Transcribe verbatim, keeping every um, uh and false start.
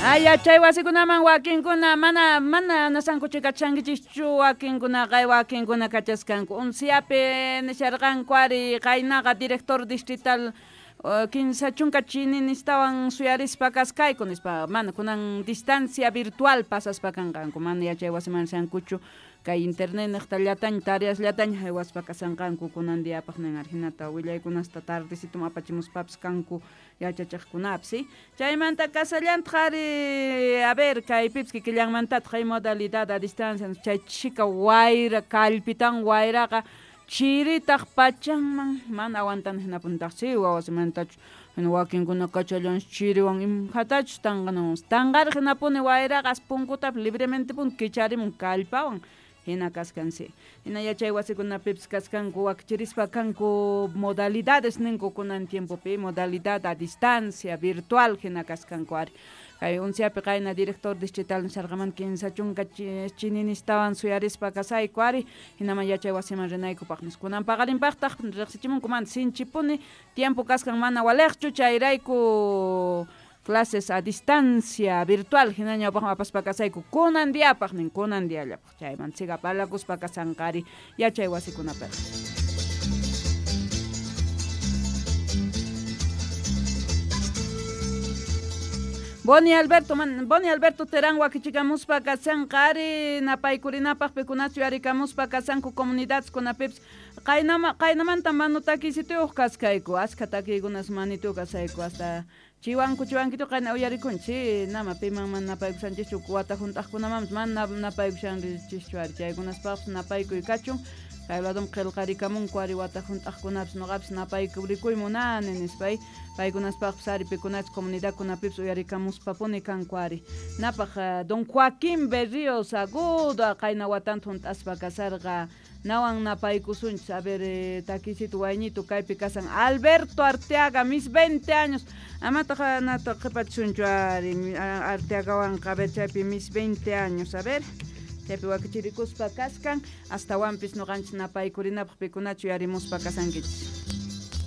Ay, yachay wasikunaman wakinkuna mana mana nasankuchu kachankichikchu wakinkunaqa wakinkuna kachaskanku unsiapi nisharqanku ari qaynaqa director distrital kinsa chunka chininistawan suyarispa kaskayku nispa mana kunan distancia virtual pasaspa kanqanku mana yachay wasiman rishankuchu kay internet niqta llataña tareas llataña haywaspa kasanqanku kunan diapaq nin hinata willaykunasta tardecitum apachimuspapis kanku yachachiqkunapis chaymanta kasallantaq ari a ver kaypipis kikillanmantataq hay modalidad a distancia chay chika wayra kallpitan wayraqa chiritaq pachanman mana aguantan hinapuntaqsi wawasimantachu hina wakinkuna kachallansi chiriwan imhatachus tanqanawan tanqariq hinapuni wayraqa punkutapis libremente puni kicharimun kallpawan hina kaskansi hina yachay wasikunapipis kaskanku wakichirispa kanku modalidades ninku kunan tiempopi modalidad a distancia virtual hina kaskanku ari kay unsiapi qayna director distrital nisharqamanta kinsa chunka chininistawan suyarispa kasayku ari hinaman yachay wasiman rinaykupaq nispa kunan paqarinpaqtaq riqsichimunku mana sinchipuni tiempo kaskan mana waliqchu chayrayku clases a distancia virtual hina ñawpaqman apaspa kasayku kunan diapaq nin kunan diallapaq chayman siga parlakuspa kasanqari yachay wasikunapiqa. Boni Alberto, man, Boni Alberto Terán wakichikamuspa kasanqa ari napaykurinapaq pikunachu yarikamuspa kasanku comunidades kunapipis qaynama qaynamanta manu takisituyuq kaskayku askha takiykunas manituq kasayku hasta chiwanku chiwankitu qayna uyarikunchik nama piman mana napaykushanchikchu wata hunt'aqkunamanpas mana napaykushanchikchu ari chaykunaspaqpas napaykuy kachun kay ladum qillqarikamunku ari wata hunt'aqkunapis nuqapis napaykurikuy munani nispay paykunaspaqpas ari pikunachus comunidadkunapipis uyarikamuspapuni kanku ari napaq don Joaquín Berríos Agudo qayna watanta hunt'aspa kasarqa nawan napaykusunchis a ver takisito wayñito kaypi kasan Alberto Arteaga mis veinte años amataq nata qhipachisunchu ari Arteagawanqa a ver chaypi mis veinte años a ver chaypi wakichirikuspa kaskan astawanpis nuqanchis napaykurinapaq pikunachu yarimuspa kasankichis.